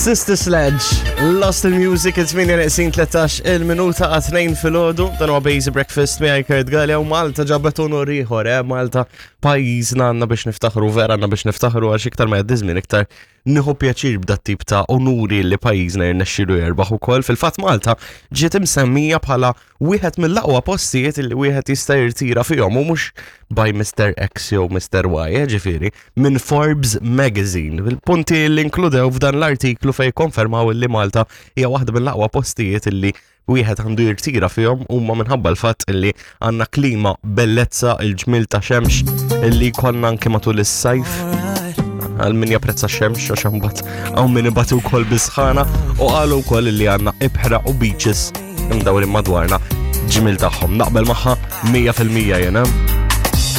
Sister Sledge, Lost in Music, it-8 neqsin 13 il-minuta għat 2 fil-ħodu, dan huwa Basic Breakfast miegħi Kurt Galea u Malta ġabet onor ieħor, eh, Malta pajjiżna għandna biex niftaħru vera għandna biex niftaħru għax iktar ma jgħaddi żmien iktar nieħu pjaċir b'dat tip ta' onuri li pajjiżna jirnexxielu jerbaħ ukoll. Fil-fatt Malta ġiet imsemmija bħala wieħed mill-aqwa postijiet li wieħed jista' jirtira fihom u mhux by Mr. X jew Mr. Y, eh, ġifieri, minn Forbes Magazine. Il-punti li inkludew f'dan l-artiklu fejn konfermaw li Malta hija waħda mill-aqwa postijiet li wieħed għandu jirtira fihom huma minħabba l-fatt li għandna klima bellezza il-ġmil ta' xemx li konna anke matul is-sajf għal min japprezza xemx għax imbagħad hawn min ibati wkoll bisħana u qalu wkoll li għandna ibħra u beaches imdawrin madwarna ġmil tagħhom. Naqbel magħha 100% jena.